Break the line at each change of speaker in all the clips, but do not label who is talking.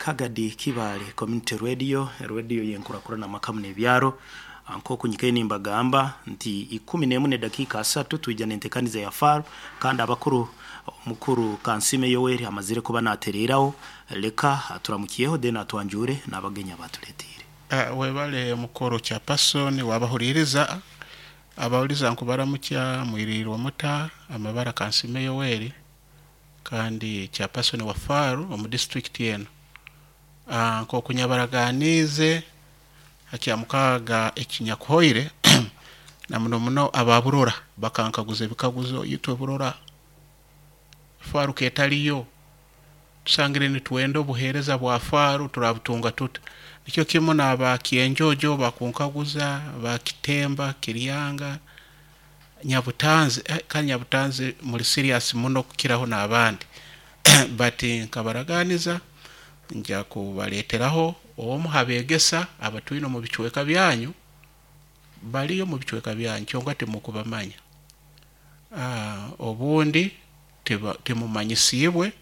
Kagadi Kibaale Community Radio, radio yenkurakurana makamu n'ebyaro. Nk'oku nyikaire nimbagamba nti 11:30 twija n'entekaniza ya FAR, kandi abakuru, omukuru Kansime Yoweri amazire kuba natereraho. Leka aturamukiyeho, then atwanjure n'abagenyi abatuletiire.
Webale mukoro chairperson, wabahuliriza abawuliza nkubaramukya, mwirirwe muta? Amabara Kansime Yoweri kandi chairperson wa FAR omu district eno. Nk'oku nyabaraganiize hakya mukaaga ekinyakuhoire, na muno muno aba Burora bakankaguza ebikaguzo: itwe Burora FAR ketaliyo, tusangire nitwenda obuheereza bwa FAR, turabutunga tuta? Nikyo kimu n'aba Kyenjojo bakunkaguza, ba Kitemba, Kiryanga, Nyabutanzi. Kandi Nyabutanzi muli serious muno kukiraho n'abandi, but nkabaraganiza nja kubaleeteraho omu habeegesa abatwine omu bicweka byanyu. Baliyo mu bicweka byanyu, kyonka timukubamanya. Obundi timumanyisiibwe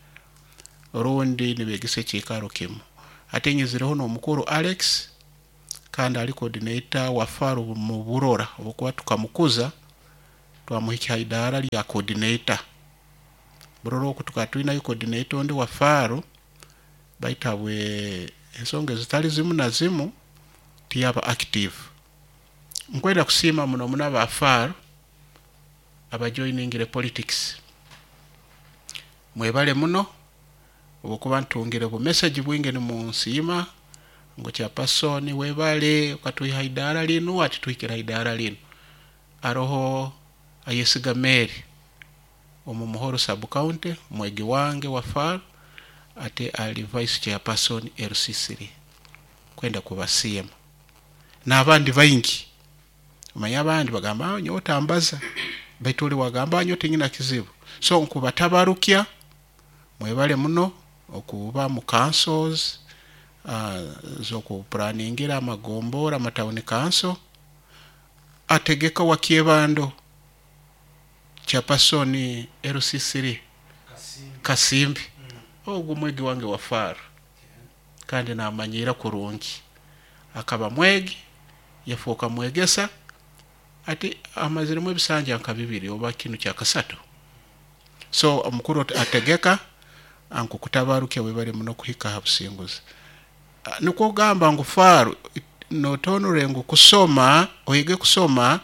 rundi nibegesa ekiikaro kimu. Ate nyizireho n'omukuru Alex, kandi ali coordinator wa FAR mu Burora, obwokuba tukamukuza twamuhikya ha idaara lya coordinator. Burora oku tukaba twinayo coordinator ondi wa FAR, baitu habwe ensonga ezitali zimu na zimu tiyaba active. Nkwenda kusiima muno muno aba FAR abajoiningire politics, mwebale muno, obwokuba ntungire bu message bwingi nimunsiima ngu chairperson webale, okatwiha idaara linu, ati tuhikire ha idaara linu. Aroho Ayesiga Mary omu Muhoro sub county, mwegi wange wa FAR, ate ali vice chairperson LC3. Kwenda kubasiima n'abandi baingi. Omanya abandi bagamba, "Ah, nyowe otambaza," baitu oli wagamba, "Nyowe tinyina kizibu." So nkubatabarukya, mwebale muno okuba mu councils z'okupuraningira amagombora, amatown council. Ategeka wa Kyebando, chairperson LC3 Kasimbi, ogwo mwegi wange wa FAR kandi namanyira kurungi. Akaba mwegi, yafuuka mwegesa, ati amaziremu ebisanja nka bibiri oba kinu kyakasatu. So omukuru ategeka, ankukutabarukya, webale muno kuhika ha businguzi. Nikwo kugamba ngu FAR notonore ngu kusoma, oyege kusoma,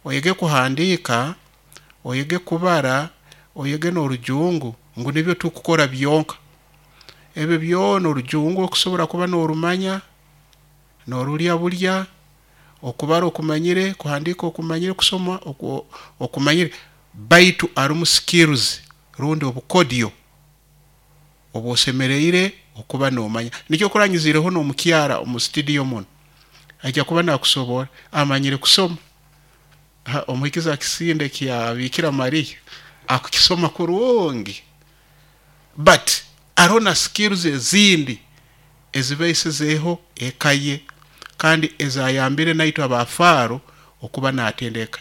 oyege kuhandiika, oyege kubara, oyege n'orujungu, ngu nibyo tukukora byonka. Ebyo byona, orujungu okusobora kuba n'orumanya, n'orulya bulya, okubara okumanyire, kuhandiika okumanyire, kusoma okumanyire, baitu arumu skills rundi obukodyo obwosemereire okuba nomanya. Nikyo kuranyizireho n'omukyara omu studio muno, ajja kuba nakusobora amanyire kusoma. Omuhikiza akisinde kya Bikira Maria akukisoma kurungi, but aroho na skills ezindi ezibaisizeeho eka ye kandi ezayambire naitwe abafaaro okuba natendeka.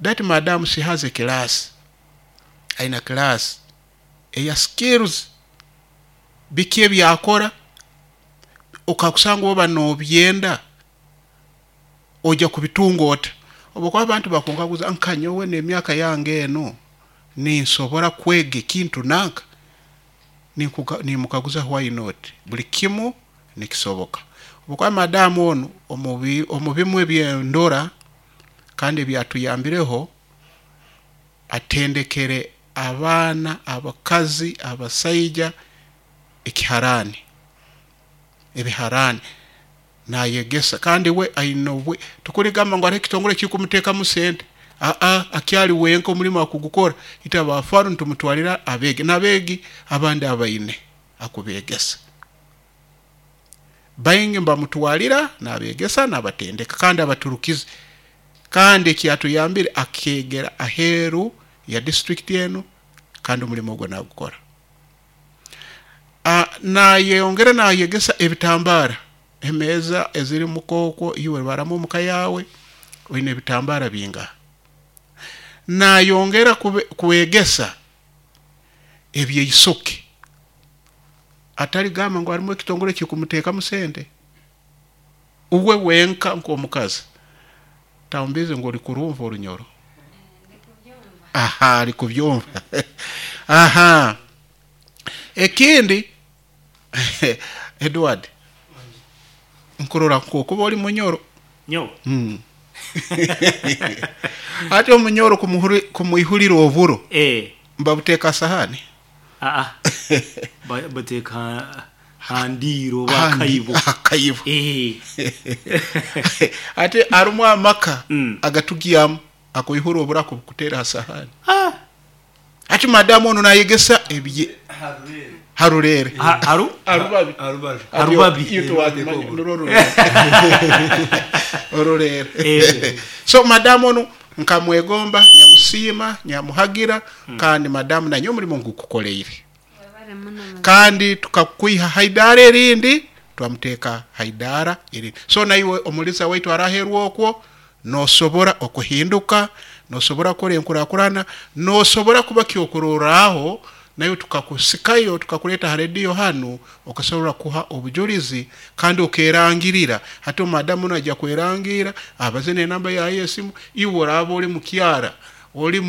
That madam, she has a class, aina class eya skills. Biki ebyakora okakusanga oba nobyenda, ojja kubitunga ota? Obwokuba abantu bakunkaguza, nka nyowe n'emyaka yange eno ninsobora kwega ekintu nanka? Nimukaguza, why not? Buli kimu nikisoboka. Obwokuba madamu onu omu bimu ebyendora kandi ebyatuyambireho, atendekere abaana, abakazi, abasaija ekiharani, ebiharani nayegesa. Kandi we aine obwe tukuligamba ngu hariho ekitongole ekikumuteekamu sente. Aa, akyali wenka, omulimu akugukora. Itwe abafaru nitumutwalira abeegi n'abeegi abandi abaine akubegesa baingi, mbamutwalira nabegesa, nabatendeka kandi abaturukize. Kandi ekyatuyambire, akegera aheeru ya district enu kandi omulimu ogwo nagukora. Nayeyongera nayegesa ebitambara, emeeza eziri mukookwo, iwe baramu omuka yawe oine ebitambara bingaha. Nayongera kwegesa ebyeisoke. Ataligamba ngu harimu ekitongole kikumuteekamu sente, uwe wenka nk'omukazi. Taumbize ngu oli kurumva orunyoro. Aha, ali kubyumva. Aha, ekindi, Edward, nkurora nkokuba oli munyoro.
Nyo.
Ati omunyoro kumuihulira oburo, mbabuteeka sahani?
Aa, bateeka handiiro oba akaibo.
Akaibo. Ate harimu amaka agatugyamu akoihura oburo akubukutera ha sahani. Ati madamu onu nayegesa ebye harurere.
Haru?
Harubabi.
Harubabi.
Harubabi.
Iyo tuwakimanya, nurwo rurere. Orurere. So madamu onu nkamwegomba, nyamusiima, nyamuhagira, kandi madamu nanyo omurimo ngukukoleire. Kandi tukakwiha haidara erindi, twamuteeka haidara erindi. So naiwe omulisa waitu araherwa okwo, nosobora okuhinduka, nosobora kukora enkurakurana, nosobora kuba kyokurorraho, nayo tukakusikayo tukakuleta ha rediyo hanu, okasobora kuha obujulizi kandi okerangirira. Hati omadamu najya kwerangira, abaze n'enamba yaye y'esimu, iwe oraba oli mukyara oli.